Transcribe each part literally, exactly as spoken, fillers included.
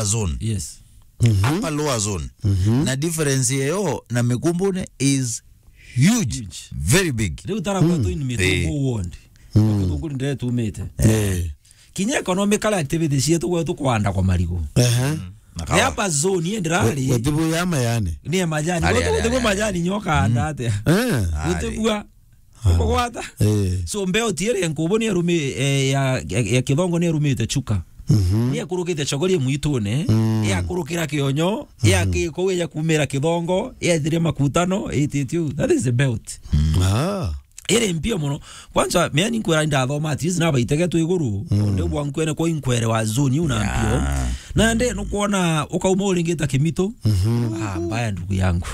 zone. Yes. Mhm. Upper lower zone. Mhm. Na difference yeyo na Mikumbune is huge. Huge. Very big. Riu tara kwa tu in Mitumbu ward. Mm. Kutunguri ndire tumite. Eh. Kinya economical activities yetu gwetu kwanda kwa marigu. Ehe. Na kawa. Ni hapa zone, ye ndirari. Gutibu ya mayani. Ni ya majani. Ari, ari, ari, majani nyoka anda atia. Eh. Gutibua. Ari. Ukugwata. Eh. So, mbeo tiere nkubu ni arumi, eh, ya, ya, ya Kithongo ni arumite Chuka. Mhm. Ni akurukite Chogoria mwitune, mm, ya kurukira Kionyo, ya ki-, kou ya kumira Kithongo, ya ethire Makutano, ititiu. That is the belt. Ah. Iri mpio muno. Kwanza, mea ni nkwira ndathoma, at least nabaitege twi iguru. Mm. Onde bwa nkwene kwa inkwere wa zone iu na mpio. Yeah. Na nde nukwona ukauma uringita Kimitu. Mhm. Ah, mbaya ndugu yangu.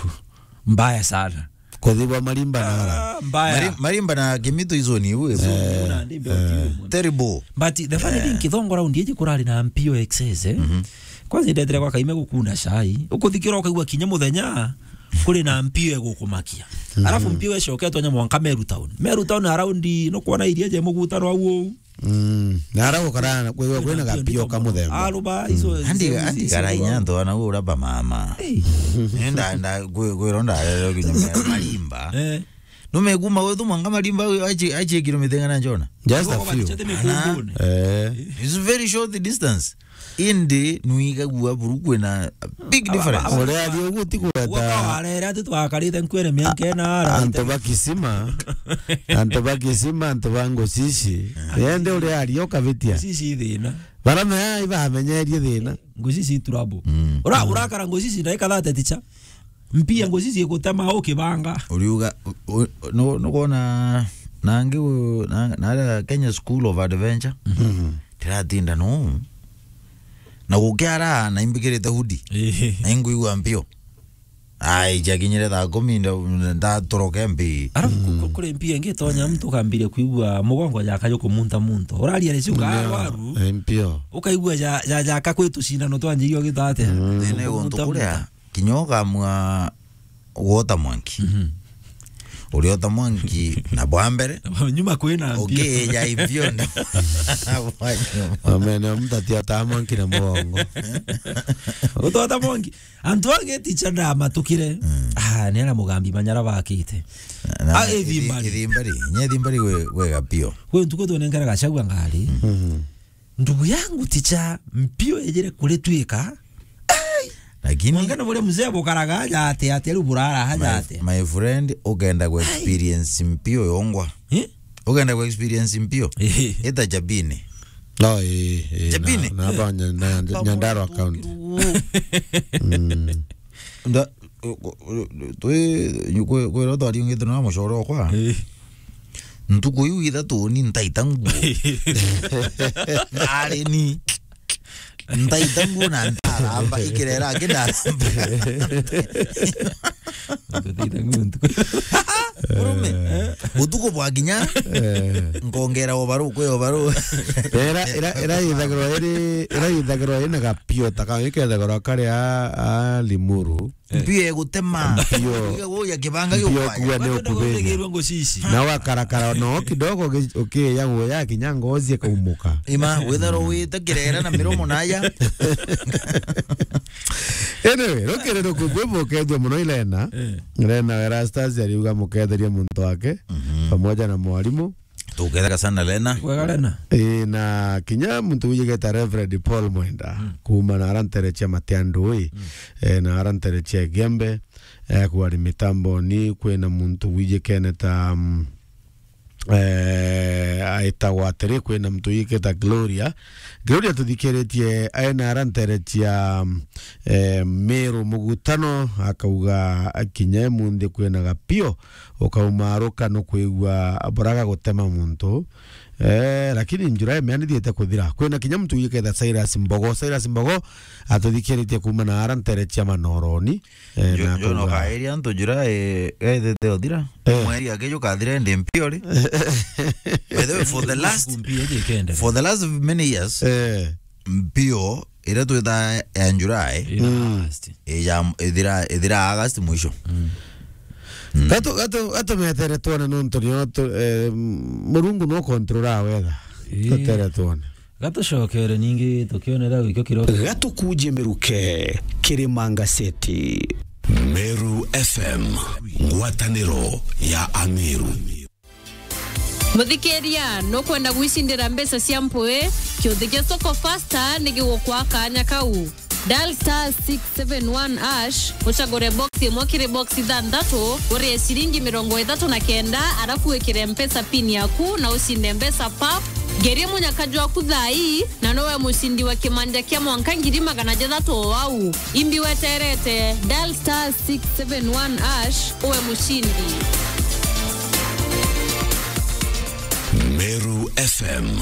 Mbaya sana. Kuthibwa Marimba na ara. Ah, mbaya. Mari-, Marimba na Kimitu izo ni iu, ibu. Zone iu na ndi mpio tiu. Terrible. But the funny thing, Kithongo round iji kurari na mpio excess, eh? Mhm. Kwanza ndetire kwa Kaime gukuna cai. Ukuthikira ukaigua kinya muthenya kuri na mpio egukumakia. Mhm. Alafu mpio ecoketwe nya mwanka Meru Town. Meru Town around nukwona iria je mugutano au uu. Mm. Na ara gukara kwigua kwina gapio ka muthemba. Aruba izo. Mm. Andi, andi kara inya ndo na ura ba mama. Hey. Nenda, nda, kwi-, kwiro ndarere kinya Marimba. Eh. Numeguma gwetu mwanka Marimba, achi, achi kilomita ingana njona? Just a few. Ana. Eh. It's very short distance. Indi nuigagua buru kwina a big difference. Uria ari uguo ti kureta. Warere ati twakarite nkwere mianka ena ara. Antu ba Kisima, antu ba Kisima, antu ba Ngocici. Yende uria ari ukabitia. Ngocici thina. Bara me ai bamenyerie thina. Ngocici trouble. Mm. Ura-, urakara Ngocici ndaika thate ticha. Mpia Ngocici igutema ukibanga. Uriuga, u-, u-, nu-, nukwona nangi u-, na, na aria Kenya School of Adventure. Mhm. Ndiratinda no. Na gukiara na imbikirite hoodie. Ehe. Na inguigua mpio. Ai, jakinyire thaa kumi nda-, ndatoroke mbi. Alafu ku-, ku-, kuri mpia ingi tonya mtu kambirie kuigua mugongo jaka jukumunta muntu. Uraria reciu ka waru. Eh, mpio. Ukaigua ja, ja, jaka kwitu cindano twanjirie ugita atia? Mm. Thina guntu kuria. Kinya ukamua gwota mwanki. Mhm. Uriota mwanki na bwa mbere. Nyuma kwina mpio. Ukija ivyo na bwa nyuma. Amene, mtu atiota mwanki na mugongo. Utota mwanki. Antu angi ticha ndamatukire. Mm. Ah, ni ara mugambi manyara bakite. Na, ah, ithi-, ithimbari. Ithimbari. Nye ithimbari we, we gapio. Kwe ntuku tunenkera gacagua ngari. Mhm. Ndugu yangu ticha mpio ejere kuritwika. Ai! Lakini mwanka na buria mzee bukaraga aja ate, ate riu burara aja ate. My, my friend, ukenda ku experience mpio yongwa. Eh? Ukenda ku experience mpio. Eh. Ita Jabini. No, eh, eh, Jabini. Na, na ba nya-, na, Nyandarua County. Mm. Nda, twi, kwi, kwira twariungite na mucore okwa. Eh. Ntuku iu ithatu ni ntaita nguo. Ari ni. Ntaita nguo na ntaramba, ikirera aki ndaramba. Ntaita nguo ntuku. Murume, utuku bwa kinya, eh, nkongera obaru, kwi obaru. Era, era, era ithagirwa iri, era ithagirwa ina gapio ta kau, ikethagirwa kari a, a Limuru. Eh. Mpio egutema. Mpio. Iga guya kibanga. Mpio giukwaya. Kuwa ni ukubinya. Ndigirwe Ngocici. Na wakarakara no kidogo uki-, ukiya guya kinya ngozi ikaumuka. Ima, withero wite kirera na miromo naya. Anyway, rukiri rukubwi bukethua muno Ilena. Eh. Ilena Erastus ariuga muketherie muntu wake, mhm, pamoja na mwalimu. Tuketheka sana Lena. Wega Lena. Ii, na kinya muntu wijigeta Reverend Paul Mwenda, mm, kuma na ara ntere cia Matiandui, mm, eh, na ara ntere cia Igembe, eh, kwari mitamboni, kwina muntu wijikene ta, mm, eh, aitagwa atiri, kwina muntu wijiketa Gloria. Gloria tuthikiritie aina ara ntere cia, mm, eh, Meru Mugutano, akauga akinya emunthi kwina gapio, ukauma aruka nukwigua buraga gutema muntu. Eh, lakini July mea nithiete kuthira. Kwina kinya muntu wijiketa Cyrus Mbogo. Cyrus Mbogo atuthikiritie kuma na ara ntere cia Manoroni. Eh, Ju-, na John akauga okairia antu July, eh, ethete uthira. Eh. Mweri akiju kathira ndi mpio ri. By the way, for the last, mpio iji ikendere, for the last many years, eh, mpio iria twithaa ya July, ina, mm, August. Ija, ithira, ithira August mwisho. Mm. Mm. Gatu, gatu, gatu metere tuone nontu nio tu, eh, Murungu no control weather. Ii. Tutere tuone. Gatucokere ningi tukionera wikio kiro. Gatukuje miruke, Kirima Ngaseti. Meru F M, ngwataniro ya Ameru. Muthikiria, nukwenda gwicindira mbeca cia mpwi? Kiuthi gia Soko Fasta ni gigukwa kanya kau. Dial star six seven one hash, ucagure box imwe kiri box ithanthatu, urie ciringi mirongo ithatu na kenda, arafu wikire Mpesa pin yaku na ucinde mbeca pap. Ngerie munyaka jwaku thaa ii, na nowe mucindi wa kimanja kia mwanka ngiri magana jathatu o au. Imbi weterete, dial star six seven one hash, uwe mucindi. Meru F M.